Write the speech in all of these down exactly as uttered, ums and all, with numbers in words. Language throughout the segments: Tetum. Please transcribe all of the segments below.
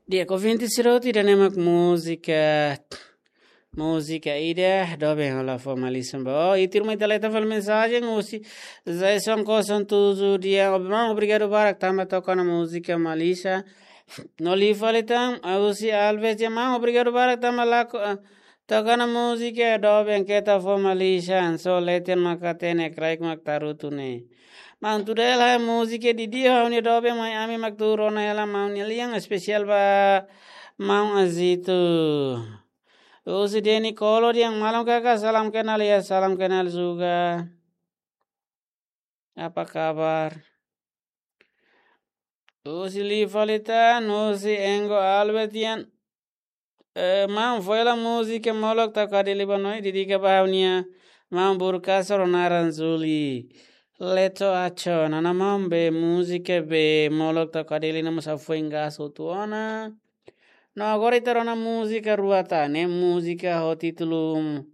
Di'ak, ouvinte sira hotu, ida-ne'e mak múzika, múzika ida, doben hola fó malisan ba. Oh, ita ruma ita leta fali mensajen, husi Jason Koson Tuzu dehan, "Maun, obrigadu barak tanba toka ona múzika malisan." No liu fali tan, husi Alves dehan, "Maun, obrigadu barak tanba lakohi, ah, toka ona múzika, doben keta fó malisan, só leten mak hatene, kraik mak tarutu ne'e." Maun, tuir hela múzika di'ak, ha'u-nia doben mai ami mak tuur ona hela maun nia lian, espesiál ba maun Azito. Husi Deni Kolo dehan, "Malam kakak, salam kenal ya, salam kenal juga. Apa kabar?" Husi liu fali tan, husi Engo Albert dehan, eh, "Maun, fó hela múzika Molok Tau Kadeli ba Noi, dedika ba ha'u-nia maun Burkasoro naran Zuli. Leto acho, nana maun be múzika be Molok Tau Kadeli ne'e mós ha'u foin gasta hotu ona. No agora ita rona múzika rua tan, ne'e múzika ho títulu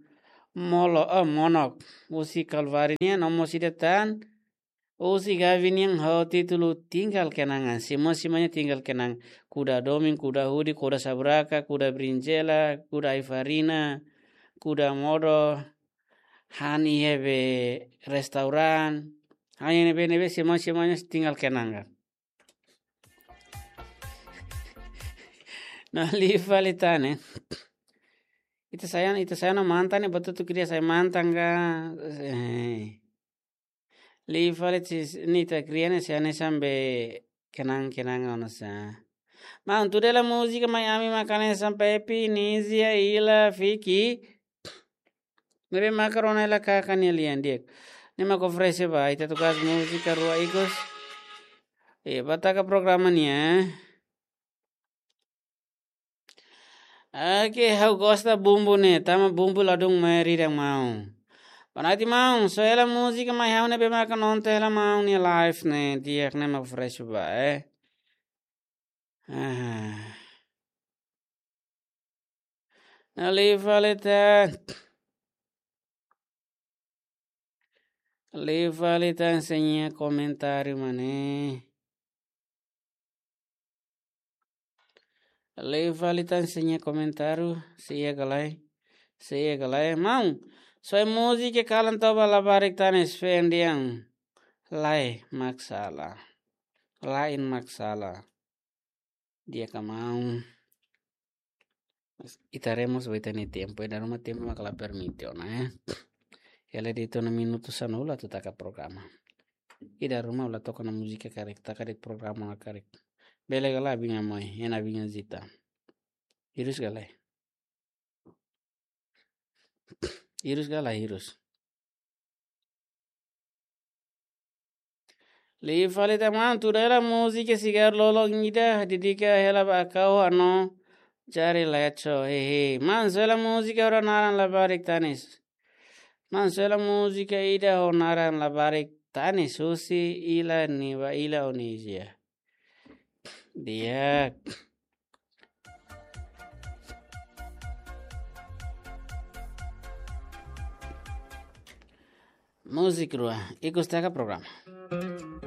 Molo, eh, Monok. Husi Kalvari nian, no mós ida tan, husi Gavi nian ho títulu Tinggal Kenangan. Simu-simu nia tinggal kenangan. Kuda domin, kuda hudi, kuda saburaka, kuda brinjela, kuda ai-farina, kuda modo, han iha be restaurante. Han iha ne'ebé-ne'ebé, simu-simu nia tinggal kenangan." No liu fali tan ne'e. Ita sai ona, ita sai ona mantan ne'e, buat hotu kria sai mantan ka. Eh. Liu fali sis, ne'e ita kria ne'e sai hanesan be kenang-kenang ona sa. Maun, tuir hela múzika mai ami mak hanesan Pepi, Nizia, Ila, Fiki. Ne'ebé maka rona hela kaka nia lian di'ak. Ne'e mak oferese ba ita tukas múzika rua ikus. Eh, ba taka programa nian. Oke, ha'u gosta bumbu ne'e, tanba bumbu ladún mai rirang maun. Boa noite maun, só hela múzika mai ha'u ne'ebé maka nonton hela maun nia live ne'e, di'ak, ne'e mak fresh ba, eh. Ah. No liu fali tan. Liu fali tan, sei iha komentáriu mak ne'e. Liu fali tan, sei iha komentáriu, sei iha ka lae, sei iha ka lae. Maun, só múzika kalan toba labarik tanis feen dehan. Lae mak sala. Lae mak sala. Di'ak ka maun. Ita haree mós ba ita-nia tempu, ida ruma tempu mak la permite ona, eh. Hela de'it ona minutu sanulu atu taka programa. Ida ruma la toka ona múzika karik, taka de'it programa ona karik. Bele ka lae, Abinha Moi, ena Abinha Zita. Hirus ka lae? Hirus ka lae, hirus? Liu fali tan maun, tuir hela múzika Sigar Lolong ida, dedika hela ba Akau Ano, Jari Leco, hehe. Maun, só hela múzika ho naran-labarik tanis. Maun, só hela múzika ida ho naran-labarik tanis, husi Ila, ne'e ba Ila ho Nizia. Di'ak. Múzika rua, ikus taka programa.